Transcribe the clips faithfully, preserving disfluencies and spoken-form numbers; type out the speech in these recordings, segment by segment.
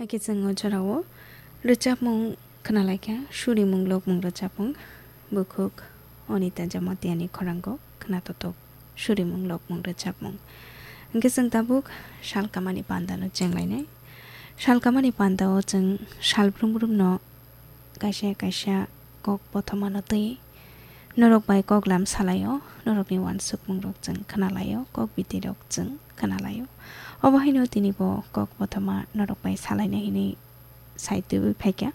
Hakhe chwng o jorao rwchapmung khwnalaikha, surimung lokmung rwchapmung, bukhuk Anita Jamatia ni khorango khwnatotok surimung lokmung rwchapmung. Hwnkhe chwng tabuk salkamani pandano chenglainai. Salkamani pandao chwng salbrum brumno kaisa kaisa kok bothomano twi norok bai koklam salaio, norokni uansukmungrok chwng khwnalaio, kok bitirok chwng khwnalaio. Obo haino tini bo kok bothoma norok bai salaina hinwi sai twiwi phaikha.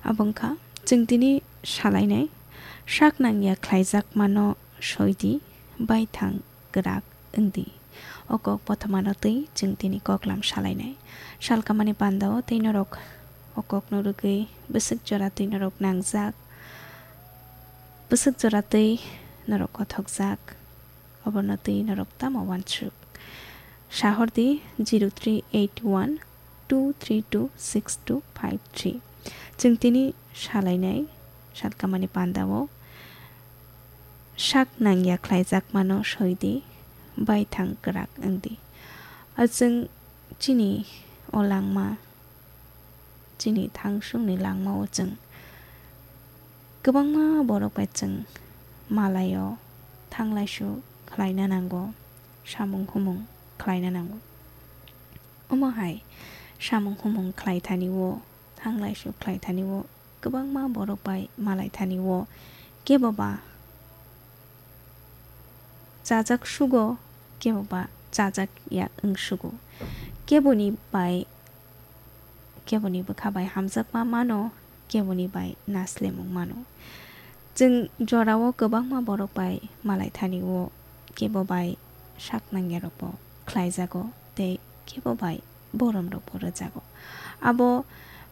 Abo wngkha chwng tini salainai sak nangya khlaijakmano soidi, baithang kwrak wngdi. O kok bothomano twi chwng tini koklam salainai. Salkamani pandao tei norok o kokno rwgwi bwswk jora twi norok nangjak, bwswk jora twi norok kothokjak, oborno twi norok tamo uansuk? Sahordi zero three eight one two three two six two five three. Chwng tini salainai salkamani pandao sak nangya khlaijakmano soidi, baithang kwrak wngdi. A chwng chini o langma, chini thangsungni langmao chwng kwbangma borok bai chwng malaio, thanglaisu khlaina nango, samung humung khlaina nango. Omo hai samung humung khlaithani o, thanglaisu khlaithani o, kwbangma borok bai malaithani o, kebo ba chajak sugo, kebo ba chajak ya wng sugo. Keboni bai, keboni bwkha bai hamjakma mano, keboni bai naslemung mano. Chwng jorao kwbangma borok bai malaithani o, kebo bai sak nangyarokbo khlaijago tei kebo bai boromrokbo rwjago. Abo,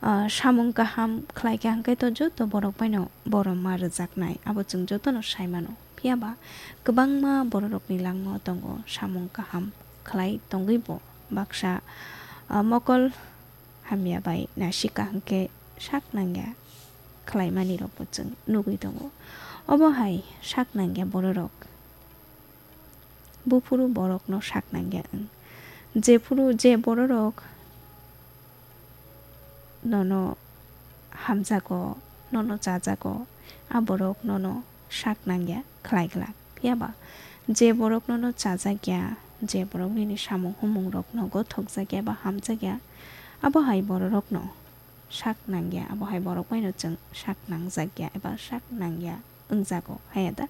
ah, samung kaham khlaikha hwnkhe to joto borok baino borom ma rwjaknai, abo chwng jotono sai mano. Phiya ba kwbangma bororokni langmao tongo samung kaham khlai tongwibo baksa, ah, mokol hamya bai nasika hwnkhe sak nangya khlaimanirokbo chwng nugwi tongo. Obo hai sak nangya bororok buphuru borokno sak nangya wng. Jephuru je bororok nono hamjago, nono chajago, a borok nono sak nangya khlai glak. Phiya ba je borok nono chajakya, je borok nini samung humung rokno gothokjakya ba hamjakya, abo hai bororokno sak nangya, abo hai borok baino chwng sak nangjakya eba sak nangya wngjago, haya da?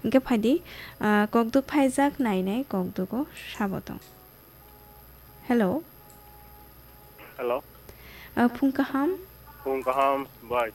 Hwnkhe phaidi, ah, kokduk phaijak nainai kokdugo sabo tong. Hello. Hello. Ah, phung kaham? Phung kaham, bai.